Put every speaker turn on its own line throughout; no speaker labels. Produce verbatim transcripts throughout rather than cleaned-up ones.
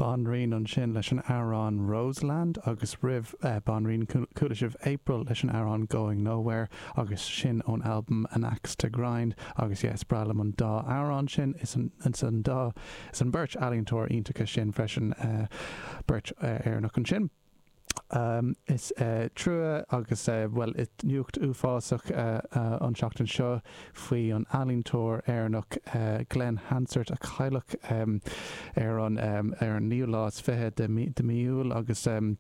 Banríon ansin leis an amhrán Roseland agus roimh uh, Banríon chuala sibh April leis an amhrán Going Nowhere agus sin ón album An Axe to Grind agus yes breá liom an dá amhrán sin is an, an dá is an beirt ealaíontóir iontacha sin freisin uh, beirt uh, Éireannach ansin. Um, is uh, trua agus uh, well it nuacht uafásach uh, uh, an seachtain seo faoi an ealaíontóir Éireannach uh, Glen Hansard a cailleadh um, ar an um, ar an naoú lá is fiche de de mí Iúil agus um,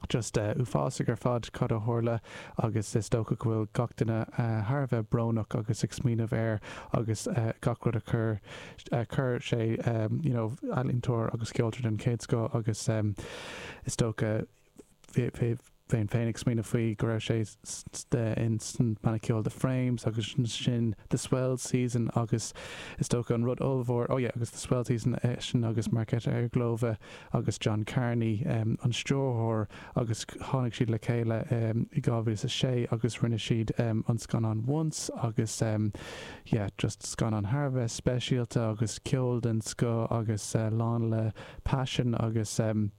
just uh, uafásach ar fad cad a tharla agus is dócha go bhfuil gach duine uh, thar a bheith brónach agus ag smaoineamh air agus uh, gach rud a chur uh, chur sé um, you know, ealaíontóir agus ceoltóir den chéad scoth agus um, is dócha bheinn féin ag smaoineamh faoi go raibh sé in san banna ceoil The Frames agus sin The Swell Season agus is dócha an rud ollmhór oh yeah, agus The Swell Season eh, sin agus Marketa Irglova agus John Carney um, an stiúrthóir agus tháinig siad le chéile um, i dhá mhíle a sé agus rinne siad um, an scannán Once agus um, yeah, just scannán thar a bheith speisialta agus ceol den scoth agus uh, lán le passion agus um,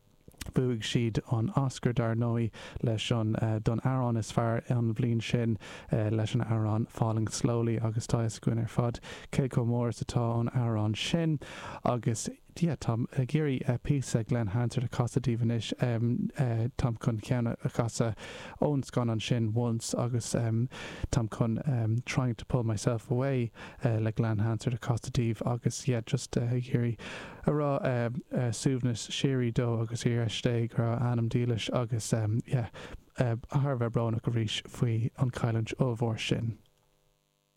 Bhuaigh siad an Oscar dar ndóigh leis an uh, don amhrán is fearr an bhliain sin uh, leis an amhrán Falling Slowly agus tá againn ar fad cé chomh mór is atá an amhrán sin agus yeah, Táim ag iarraidh uh, píosa Glen Hansard a chasadh daoibh anois um, uh, Táim chun ceann a chasadh ón scannán sin Once agus um, Táim chun um, trying to pull myself away uh, le Glen Hansard a chasadh daoibh agus yeah, just uh, ag iarraidh a rá uh, uh, suaimhneas síoraí dó agus ar dé go raibh a anam dílis agus um, yeah, uh, thar a bheith brónach arís faoi an chailliúint ollmhór sin.